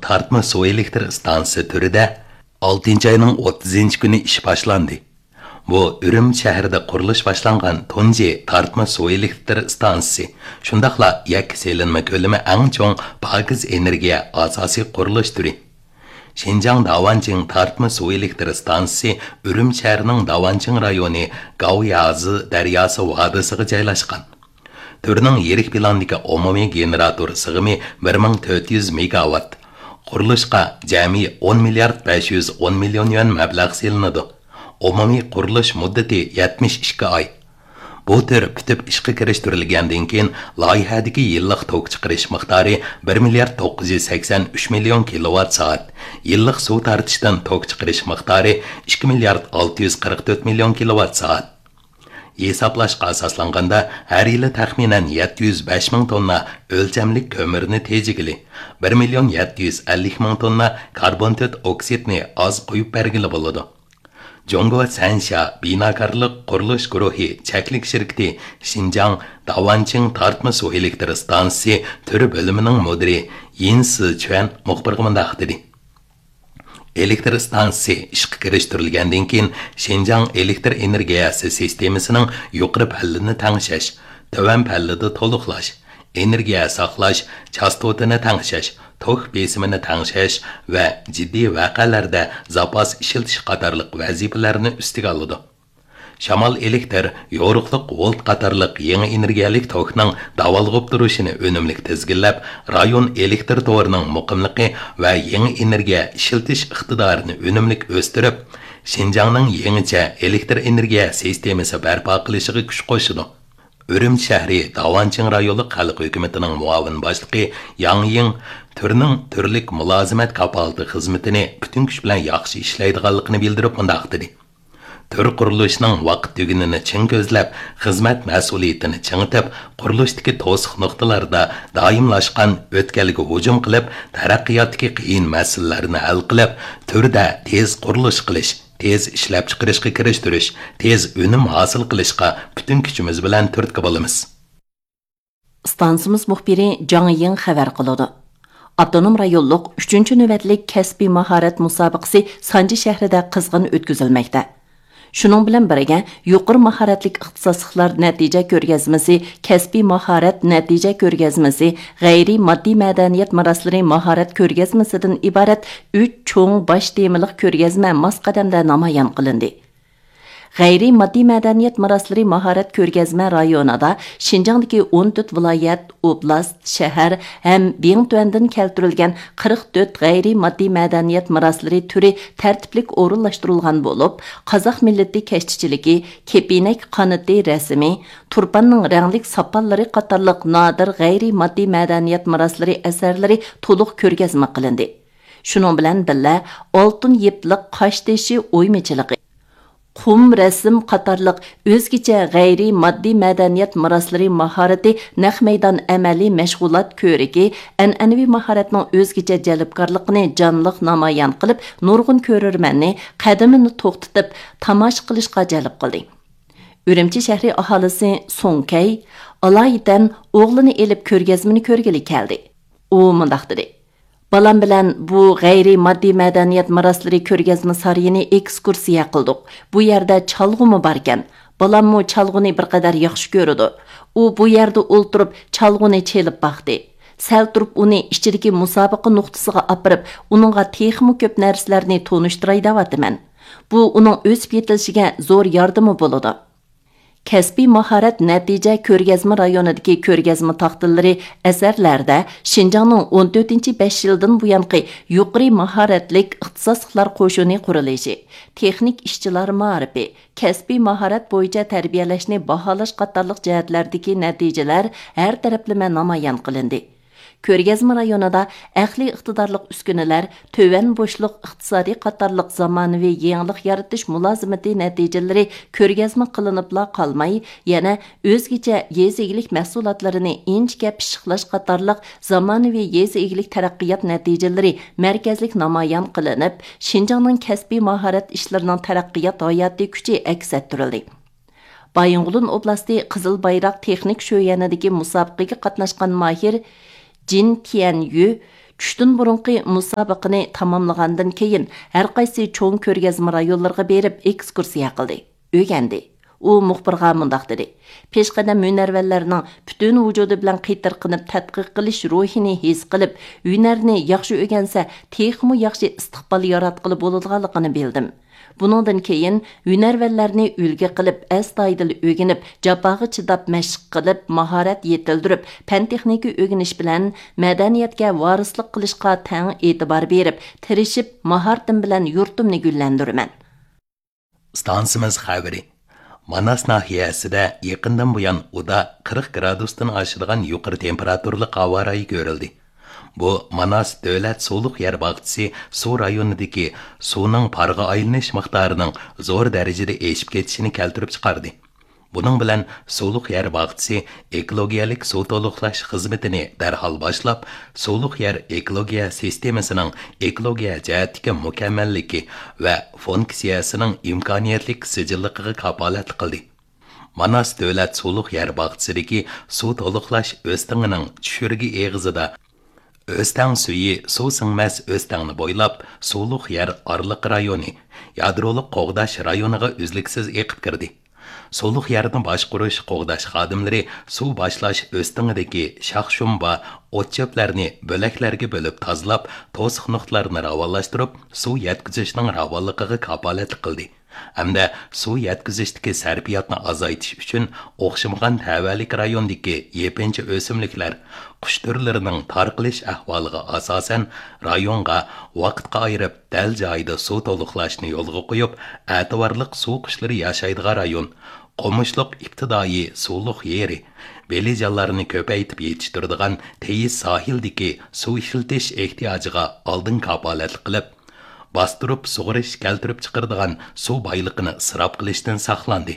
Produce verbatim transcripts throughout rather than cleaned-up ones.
تارتما سۇ ئېلېكتر ئىستانسىسى تۈرىدە ئالتىنچى ئاينىڭ ئوتتۇزىنچى كۈنى ئىش باشلاندى. بۇ ئۈرۈمچى شەھىرىدە قۇرۇلۇش باشلانغان تۇنجى تارتما سۇ ئېلېكتر ئىستانسىسى، شۇنداقلا يەككە سېلىنما كۆلىمى ئەڭ چوڭ پاكىز ئېنېرگىيە ئاساسىي قۇرۇلۇش تۈرى. شىنجاڭ داۋانچىڭ تارتما سۇ ئېلېكتر ئىستانسىسى ئۈرۈمچى شەھىرىنىڭ داۋانچىڭ رايونى گاۋيازى دەرياسى ۋادىسىغا جايلاشقان. تۈرنىڭ يىرىك پىلاندىكى ئومۇمىي گېنېراتور سىغىمى بىر مىڭ تۆت يۈز مېگاۋات. قۇرۇلۇشقا جەمئىي ئون مىليارد بەش يۈز ئون مىليون يۈەن مەبلەغ سېلىنىدۇ. ئومۇمىي قۇرۇلۇش مۇددىتى يەتمىش ئىككى ئاي. بۇ تۈر پۈتۈپ ئىشقا كىرىشتۈرۈلگەندىن كېيىن، لايىھەدىكى يىللىق توك چىقىرىش مىقدارى بىر مىليارد توققۇز يۈز سەكسەن ئۈچ مىليون كىلوۋات سائەت، يىللىق سۇ تارتىشتىن توك چىقىرىش مىقدارى ئىككى مىليارد ئالتە يۈز قىرىق تۆت مىليون كىلوۋات سائەت. ھېسابلاشقا ئاساسلانغاندا، ھەر يىلى تەخمىنەن يەتتە يۈز بەش مىڭ توننا ئۆلچەملىك كۆمۈرنى تېجىگىلى، بىر مىليون يەتتە يۈز ئەللىك مىڭ توننا كاربون تۆت ئوكسىدنى ئاز قويۇپ بەرگىلى بولىدۇ. جۇڭگو سەنشيا بىناكارلىق قۇرۇلۇش گۇرۇھى چەكلىك شىركىتى شىنجاڭ داۋانچىڭ تارتما سۇ ئېلېكتر ئىستانسىسى تۈر بۆلۈمىنىڭ مۇدىرى يىن سىچۈەن مۇخبىرغا مۇنداق دېدى. ئېلېكتر ئىستانسىسى ئىشقا كىرىشتۈرۈلگەندىن كېيىن، شىنجاڭ ئېلېكتر ئېنېرگىيەسى سىستېمىسىنىڭ يۇقىرى پەللىنى تەڭشەش، تۆۋەن پەللىدە تولۇقلاش، ئېنېرگىيە ساقلاش، چاستوتىنى تەڭشەش، توك بېسىمىنى تەڭشەش ۋە جىددىي ۋەقەلەردە زاپاس ئىشلىتىش قاتارلىق ۋەزىپىلەرنى ئۈستىگە ئالىدۇ. شامال ئېلېكتر، يورۇقلۇق ۋولت قاتارلىق يېڭى ئېنېرگىيەلىك توكنىڭ داۋالغۇپ تۇرۇشىنى ئۈنۈملۈك تىزگىنلەپ، رايون ئېلېكتر تورىنىڭ مۇقىملىقى ۋە يېڭى ئېنېرگىيە ئىشلىتىش ئىقتىدارىنى ئۈنۈملۈك ئۆستۈرۈپ، شىنجاڭنىڭ يېڭىچە ئېلېكتر ئېنېرگىيە سىستېمىسى بەرپا قىلىشىغا كۈچ قوشىدۇ. ئۈرۈمچى شەھىرى داۋانچىڭ رايونلۇق خەلق ھۆكۈمىتىنىڭ مۇئاۋىن باشلىقى ياڭ يىڭ تۈرنىڭ تۈرلۈك مۇلازىمەت كاپالىتى خىزمىتىنى پۈتۈن كۈچ بىلەن ياخشى ئىشلەيدىغانلىقىنى بىلدۈرۈپ مۇنداق دېدى. تۈر قۇرۇلۇشىنىڭ ۋاقىت تۈگۈنىنى چىڭ كۆزلەپ، خىزمەت مەسئۇلىيىتىنى چىڭىتىپ، قۇرۇلۇشتىكى توسۇق نۇقتىلاردا دائىملاشقان ئۆتكەلگە ھۇجۇم قىلىپ، تەرەققىياتتىكى قىيىن مەسىلىلەرنى ھەل قىلىپ، تۈردە تېز قۇرۇلۇش قىلىش، تېز ئىشلەپچىقىرىشقا كىرىشتۈرۈش، تېز ئۈنۈم ھاسىل قىلىشقا پۈتۈن كۈچىمىز بىلەن تۈرتكە بولىمىز. ئىستانسىمىز مۇخبىرى جاڭ يىڭ خەۋەر قىلىدۇ. ئاپتونوم رايونلۇق ئۈچىنچى نۆۋەتلىك كەسپىي ماھارەت مۇسابىقىسى سانجى شەھىرىدە قىزغىن ئۆتكۈزۈلمەكتە. شۇنىڭ بىلەن بىرگە، يۇقىرى ماھارەتلىك ئىختىساسلىقلار نەتىجە كۆرگەزمىسى، كەسپىي ماھارەت نەتىجە كۆرگەزمىسى، غەيرىي ماددىي مەدەنىيەت مىراسلىرى ماھارەت كۆرگەزمىسىدىن ئىبارەت ئۈچ چوڭ باش تېمىلىق كۆرگەزمە ماس قەدەمدە نامايان قىلىندى. غەيرىي ماددىي مەدەنىيەت مىراسلىرى ماھارەت كۆرگەزمە رايونىدا شىنجاڭدىكى ئون تۆت ۋىلايەت، ئوبلاست، شەھەر ھەم بىڭتۈەندىن كەلتۈرۈلگەن قىرىق تۆت غەيرىي ماددىي مەدەنىيەت مىراسلىرى تۈرى تەرتىپلىك ئورۇنلاشتۇرۇلغان بولۇپ، قازاق مىللىتى كەشتىچىلىكى، كېپىنەك قانىتى رەسىمى، تۇرپاننىڭ رەڭلىك ساپانلىرى قاتارلىق نادىر غەيرىي ماددىي مەدەنىيەت مىراسلىرى ئەسەرلىرى تولۇق كۆرگەزمە قىلىندى. شۇنىڭ بىلەن بىللە، ئالتۇن يىپلىق قاشتېشى ئويمىچىلىقى، قۇم رەسىم قاتارلىق ئۆزگىچە غەيرىي ماددىي مەدەنىيەت مىراسلىرى ماھارىتى نەق مەيدان ئەمەلىي مەشغۇلات كۆرىكى ئەنئەنىۋى ماھارەتنىڭ ئۆزگىچە جەلپكارلىقىنى جانلىق نامايان قىلىپ، نۇرغۇن كۆرۈرمەننى قەدىمىنى توختىتىپ تاماشا قىلىشقا جەلپ قىلدى. ئۈرۈمچى شەھىرى ئاھالىسى سۇڭ كەي ئالايىتەن ئوغلىنى ئېلىپ كۆرگەزمىنى كۆرگىلى كەلدى. ئۇ مۇنداق دېدى: بالام بىلەن بۇ غەيرىي ماددىي مەدەنىيەت مىراسلىرى كۆرگەزمە سارىيىنى ئېكسكۇرسىيە قىلدۇق. بۇ يەردە چالغۇمۇ باركەن. بالاممۇ چالغۇنى بىر قەدەر ياخشى كۆرىدۇ. ئۇ بۇ يەردە ئولتۇرۇپ چالغۇنى چېلىپ باقتى. سەل تۇرۇپ ئۇنى ئىچىدىكى مۇسابىقە نۇقتىسىغا ئاپىرىپ، ئۇنىڭغا تېخىمۇ كۆپ نەرسىلەرنى تونۇشتۇراي دەۋاتىمەن. بۇ ئۇنىڭ ئۆسۈپ يېتىلىشىگە زور ياردىمى بولىدۇ. كەسپىي ماھارەت نەتىجە كۆرگەزمە رايونىدىكى كۆرگەزمە تاختىلىرى ئەسەرلەردە شىنجاڭنىڭ ئون تۆتىنچى بەش يىلدىن بۇيانقى يۇقىرى ماھارەتلىك ئىختىساسلىقلار قوشۇنى قۇرۇلۇشى، تېخنىك ئىشچىلار مائارىپى، كەسپىي ماھارەت بويىچە تەربىيەلەشنى باھالاش قاتارلىق جەھەتلەردىكى نەتىجىلەر ھەر تەرەپلىمە نامايان قىلىندى. كۆرگەزمە رايونىدا ئەقلىي ئىقتىدارلىق ئۈسكۈنىلەر، تۆۋەن بوشلۇق ئىقتىسادى قاتارلىق زامانىۋى يېڭىلىق يارىتىش مۇلازىمىتى نەتىجىلىرى كۆرگەزمە قىلىنىپلا قالماي، يەنە ئۆزگىچە يېزا ئىگىلىك مەھسۇلاتلىرىنى ئىنچىكە پىششىقلاش قاتارلىق زامانىۋى يېزا ئىگىلىك تەرەققىيات نەتىجىلىرى مەركەزلىك نامايان قىلىنىپ، شىنجاڭنىڭ كەسپىي ماھارەت ئىشلىرىنىڭ تەرەققىيات ھاياتىي كۈچى ئەكس ئەتتۈرۈلدى. بايىنغولىن ئوبلاستى قىزىل بايراق تېخنىك شۆيەنىدىكى مۇسابىقىگە قاتناشقان ماھىر جىن تيەنيۈ چۈشتىن بۇرۇنقى مۇسابىقىنى تاماملىغاندىن كېيىن، ھەرقايسى چوڭ كۆرگەزمە رايونلىرىغا بېرىپ ئېكسكۇرسىيە قىلدى، ئۆگەندى. ئۇ مۇخبىرغا مۇنداق دېدى: پېشقەدەم ھۈنەرۋەنلەرنىڭ پۈتۈن ۋۇجۇدى بىلەن قېتىرقىنىپ تەتقىق قىلىش روھىنى ھېس قىلىپ، ھۈنەرنى ياخشى ئۆگەنسە، تېخىمۇ ياخشى ئىستىقبال ياراتقىلى بولىدىغانلىقىنى بىلدىم. بۇنىڭدىن كېيىن ھۈنەرۋەنلەرنى ئۈلگە قىلىپ، ئەستايىدىل ئۆگىنىپ، جاپاغا چىداپ مەشىق قىلىپ، ماھارەت يېتىلدۈرۈپ، پەن-تېخنىكا ئۆگىنىش بىلەن مەدەنىيەتكە ۋارىسلىق قىلىشقا تەڭ ئېتىبار بېرىپ، تىرىشىپ، ماھارىتىم بىلەن يۇرتۇمنى گۈللەندۈرىمەن. ئىستانسىمىز خەۋىرى. ماناس ناھىيەسىدە يېقىندىن بۇيان ئۇدا قىرىق گرادۇستىن ئاشىدىغان يۇقىرى تېمپېراتۇرىلىق ھاۋا رايى كۆرۈلدى. بۇ ماناس دۆلەت سۇلۇق يەر باغچىسى سۇ رايونىدىكى سۇنىڭ پارغا ئايلىنىش مىقدارىنىڭ زور دەرىجىدە ئېشىپ كېتىشىنى كەلتۈرۈپ چىقاردى. بۇنىڭ بىلەن سۇلۇق يەر باغچىسى ئېكولوگىيەلىك سۇ تولۇقلاش خىزمىتىنى دەرھال باشلاپ، سۇلۇق يەر ئېكولوگىيە سىستېمىسىنىڭ ئېكولوگىيە جەھەتتىكى مۇكەممەللىكى ۋە فۇنكسىيەسىنىڭ ئىمكانىيەتلىك سىجىللىقىغا كاپالەتلىك قىلدى. ماناس دۆلەت سۇلۇق يەر باغچىسىدىكى سۇ تولۇقلاش ئۆستىڭىنىڭ چۈشۈرگە ئېغىزىدا ئۆستەڭ سۈيى سۇ سىڭمەس ئۆستەڭنى بويلاپ، سۇلۇق يەر ئارىلىق رايونى، يادرولۇق قوغداش رايونىغا ئۈزلۈكسىز ئېقىپ كىردى. سۇلۇق يەرنى باشقۇرۇش، قوغداش خادىملىرى سۇ باشلاش ئۆستىڭىدىكى شاخ-شۇمبا، ئوت-چۆپلەرنى بۆلەكلەرگە بۆلۈپ تازىلاپ، توسۇق نۇقتىلارنى راۋانلاشتۇرۇپ، سۇ يەتكۈزۈشنىڭ راۋانلىقىغا كاپالەتلىك قىلدى. ھەمدە سۇ يەتكۈزۈشتىكى سەرپىياتنى ئازايتىش ئۈچۈن ئوخشىمىغان تەۋەلىك رايوندىكى يېپىنچا ئۆسۈملۈكلەر، قۇش تۈرلىرىنىڭ تارقىلىش ئەھۋالىغا ئاساسەن، رايونغا ۋاقىتقا ئايرىپ، دەل جايىدا سۇ تولۇقلاشنى يولغا قويۇپ، ئەتىۋارلىق سۇ قۇشلىرى ياشايدىغان رايون، قومۇشلۇق ئىپتىدائىي سۇلۇق يېرى، بېلىجانلارنى كۆپەيتىپ يېتىشتۈرىدىغان تېيىز ساھىلدىكى سۇ ئىشلىتىش ئېھتىياجىغا ئالدىن كاپالەتلىك قىلىپ، باستۇرۇپ سۇغىرىش كەلتۈرۈپ چىقىرىدىغان سۇ بايلىقىنى ئىسراپ قىلىشتىن ساقلاندى.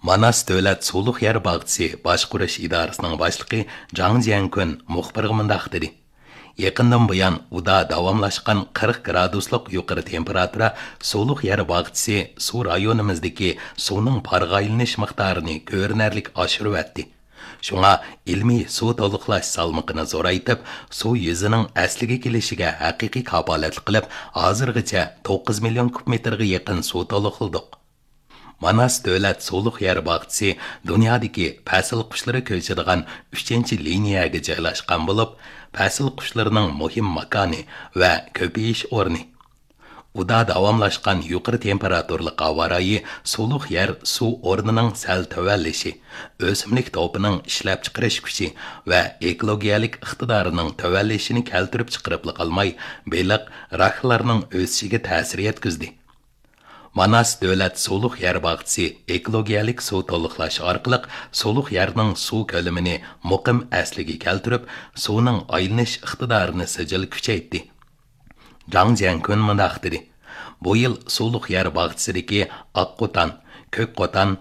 ماناس دۆلەت سۇلۇق يەر باغچىسى باشقۇرۇش ئىدارىسىنىڭ باشلىقى جاڭ جيەنكۈن مۇخبىرغا مۇنداق دېدى: يېقىندىن بۇيان ئۇدا داۋاملاشقان قىرىق گرادۇسلۇق يۇقىرى تېمپېراتۇرا سۇلۇق يەر باغچىسى سۇ رايونىمىزدىكى سۇنىڭ پارغا ئايلىنىش مىقدارىنى كۆرۈنەرلىك ئاشۇرۇۋەتتى. شۇڭا ئىلمىي سۇ تولۇقلاش سالمىقىنى زورايتىپ، سۇ يۈزىنىڭ ئەسلىگە كېلىشىگە ھەقىقىي كاپالەتلىك قىلىپ، ھازىرغىچە توققۇز مىليون كۇب مېتىرغا يېقىن سۇ تولۇقلىدۇق. ماناس دۆلەت سۇلۇق يەر باغچىسى دۇنيادىكى پەسىل قۇشلىرى كۆچىدىغان ئۈچىنچى لىنىيەگە جايلاشقان بولۇپ، پەسىل قۇشلىرىنىڭ مۇھىم ماكانى ۋە كۆپىيىش ئورنى. ئۇدا داۋاملاشقان يۇقىرى تېمپېراتۇرىلىق ھاۋا رايى سۇلۇق يەر سۇ ئورنىنىڭ سەل تۆۋەنلىشى، ئۆسۈملۈك توپىنىڭ ئىشلەپچىقىرىش كۈچى ۋە ئېكولوگىيەلىك ئىقتىدارىنىڭ تۆۋەنلىشىنى كەلتۈرۈپ چىقىرىپلا قالماي، بېلىق، راكلارنىڭ ئۆسۈشىگە تەسىر يەتكۈزدى. ماناس دۆلەت سۇلۇق يەر باغچىسى ئېكولوگىيەلىك سۇ تولۇقلاش ئارقىلىق سۇلۇق يەرنىڭ سۇ كۆلىمىنى مۇقىم ئەسلىگە كەلتۈرۈپ، سۇنىڭ ئايلىنىش ئىقتىدارىنى سىجىل كۈچەيتتى. جاڭ جيەنكۈن مۇنداق دېدى: بۇ يىل سۇلۇق يەر باغچىسىدىكى ئاق قوتان، كۆك قوتان،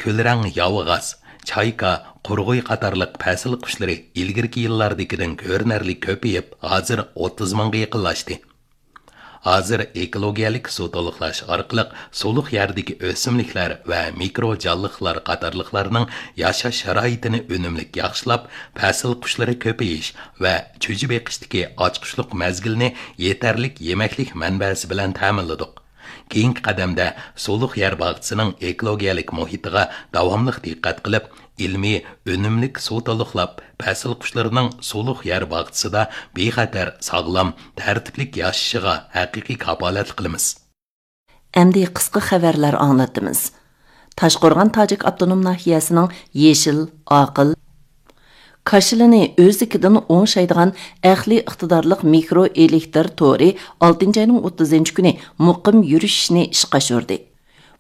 كۈلرەڭ ياۋىغاز، چايكا، قۇرغۇي قاتارلىق پەسىل قۇشلىرى ئىلگىرىكى يىللاردىكىدىن كۆرۈنەرلىك كۆپىيىپ، ھازىر ئوتتۇز مىڭغا يېقىنلاشتى. ھازىر ئېكولوگىيەلىك سۇ تولۇقلاش ئارقىلىق سۇلۇق يەردىكى ئۆسۈملۈكلەر ۋە مىكرو جانلىقلار قاتارلىقلارنىڭ ياشاش شارائىتىنى ئۈنۈملۈك ياخشىلاپ، پەسىل قۇشلىرى كۆپىيىش ۋە چۈجە بېقىشتىكى ئاچقۇچلۇق مەزگىلنى يېتەرلىك يېمەكلىك مەنبەسى بىلەن تەمىنلىدۇق. كېيىنكى قەدەمدە سۇلۇق يەر باغچىسىنىڭ ئېكولوگىيەلىك مۇھىتىغا داۋاملىق دىققەت قىلىپ، ئىلمىي، ئۈنۈملۈك سۇ تولۇقلاپ، پەسىل قۇشلىرىنىڭ سۇلۇق يەر باغچىسىدا بىخەتەر، ساغلام، تەرتىپلىك ياشىشىغا ھەقىقىي كاپالەتلىك قىلىمىز. ئەمدى قىسقا خەۋەرلەر ئاڭلىتىمىز. تاشقورغان تاجىك ئاپتونوم ناھىيەسىنىڭ يېشىل، ئاقىل، كاشىلىنى ئۆزلۈكىدىن ئوڭشايدىغان ئەقلىي ئىقتىدارلىق مىكرو ئېلېكتر تورى ئالتىنچى ئاينىڭ ئوتتۇزىنچى كۈنى مۇقىم يۈرۈشۈشنى ئىشقا ئاشۇردى.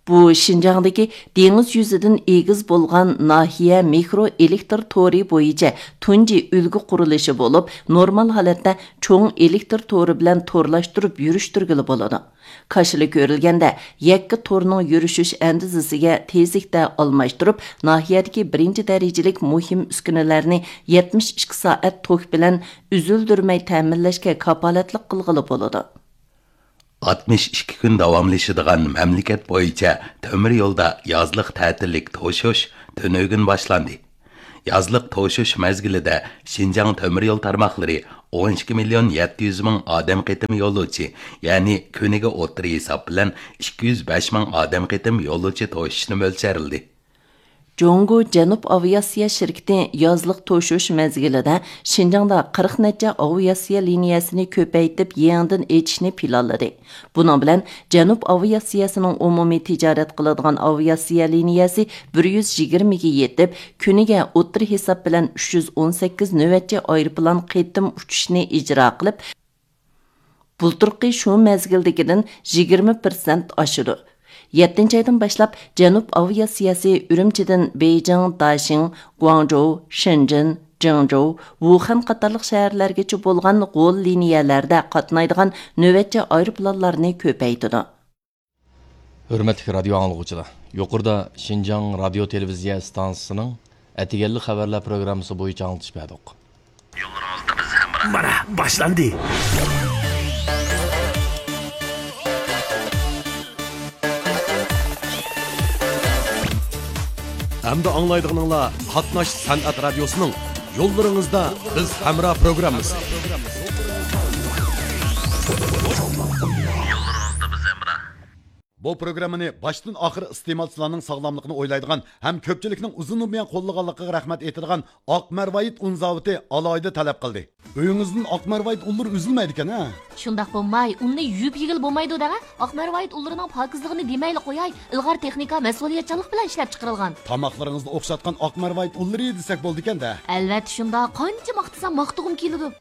بۇ شىنجاڭدىكى دېڭىز يۈزىدىن ئېگىز بولغان ناھىيە مىكرو ئېلېكتر تورى بويىچە تۇنجى ئۈلگە قۇرۇلۇشى بولۇپ، نورمال ھالەتتە چوڭ ئېلېكتر تورى بىلەن تورلاشتۇرۇپ يۈرۈشتۈرگىلى بولىدۇ. كاشىلا كۆرۈلگەندە، يەككە تورنىڭ يۈرۈشۈش ئەندىزىسىگە تېزلىكتە ئالماشتۇرۇپ، ناھىيەدىكى بىرىنچى دەرىجىلىك مۇھىم ئۈسكۈنىلەرنى يەتمىش ئىككى سائەت توك بىلەن ئۈزۈلدۈرمەي تەمىنلەشكە كاپالەتلىك قىلغىلى بولىدۇ. ئاتمىش ئىككى كۈن داۋاملىشىدىغان مەملىكەت بويىچە تۆمۈر يولدا يازلىق تەتىللىك توشۇش تۈنۈگۈن باشلاندى. يازلىق توشۇش مەزگىلىدە شىنجاڭ تۆمۈر يول تارماقلىرى ئون ئىككى مىليون يەتتە يۈز مىڭ ئادەم قېتىم يولۇچى، يەنى كۈنىگە ئوتتۇرا ھېساب بىلەن ئىككى يۈز بەش مىڭ ئادەم قېتىم يولۇچى توشۇشنى مۆلچەرلىدى. جۇڭگو جەنۇب ئاۋىئاتسىيە شىركىتى يازلىق توشۇش مەزگىلىدە شىنجاڭدا قىرىق نەچچە ئاۋىئاتسىيە لىنىيەسىنى كۆپەيتىپ يېڭىدىن ئېچىشنى پىلانلىدى. بۇنىڭ بىلەن جەنۇب ئاۋىئاتسىيەسىنىڭ ئومۇمىي تىجارەت قىلىدىغان ئاۋىئاتسىيە لىنىيەسى بىر يۈز يىگىرمىگە يېتىپ، كۈنىگە ئوتتۇرا ھېساب بىلەن ئۈچ يۈز ئون سەككىز نۆۋەتچى ئايروپىلان قېتىم ئۇچۇشنى ئىجرا قىلىپ، بۇلتۇرقى شۇ مەزگىلدىكىدىن يىگىرمە پىرسەنت ئاشىدۇ. يەتتىنچى ئايدىن باشلاپ جەنۇب ئاۋىئاتسىيەسى ئۈرۈمچىدىن بېيجىڭ، داشىڭ، گۇاڭجۇ، شېنجېن، جېڭجۇ، ۋۇخەن قاتارلىق شەھەرلەرگىچە بولغان غول لىنىيەلەردە قاتنايدىغان نۆۋەتچى ئايروپىلانلارنى كۆپەيتىدۇ. ھۆرمەتلىك رادىيو ئاڭلىغۇچىلار، يۇقىرىدا شىنجاڭ رادىيو تېلېۋىزىيە ئىستانسىسىنىڭ ئەتىگەنلىك خەۋەرلەر پروگراممىسى بويىچە ئاڭلىتىش بەردۇق. يوللىرىڭىزدا بىز ھەمراھ. مانا، باشلاندى. ئەمدى ئاڭلايدىغىنىڭلار قاتناش سەنئەت رادىيوسىنىڭ يوللىرىڭىزدا بىز ھەمراھ پروگراممىسى. يوللىرىڭىزدا بىز ھەمراھ. بۇ پروگراممىنى باشتىن ئاخىر ئىستېمالچىلارنىڭ ساغلاملىقىنى ئويلايدىغان ھەم كۆپچىلىكنىڭ ئۇزۇندىن بۇيان قوللىغانلىقىغا رەھمەت ئېيتىدىغان ئاق مەرۋايىت ئۇن زاۋۇتى ئالاھىدە تەلەپ قىلدى. ئۆيىڭىزدىن ئاق مەرۋايىت ئۇنلىرى ئۈزۈلمەيدىكەن ھە؟ شۇنداق بولماي، ئۇننى يۇيۇپ يېگىلى بولمايدۇ دەڭە. ئاق مەرۋايىت ئۇنلىرىنىڭ پاكىزلىقىنى دېمەيلى قوياي، ئىلغار تېخنىكا، مەسئۇلىيەتچانلىق بىلەن ئىشلەپ چىقىرىلغان. تاماقلىرىڭىزنى ئوخشاتقان ئاق مەرۋايىت ئۇنلىرى دېسەك بولىدىكەن-دە. ئەلۋەتتە شۇنداق، قانچە ماختىسام ماختىغۇم كېلىدۇ.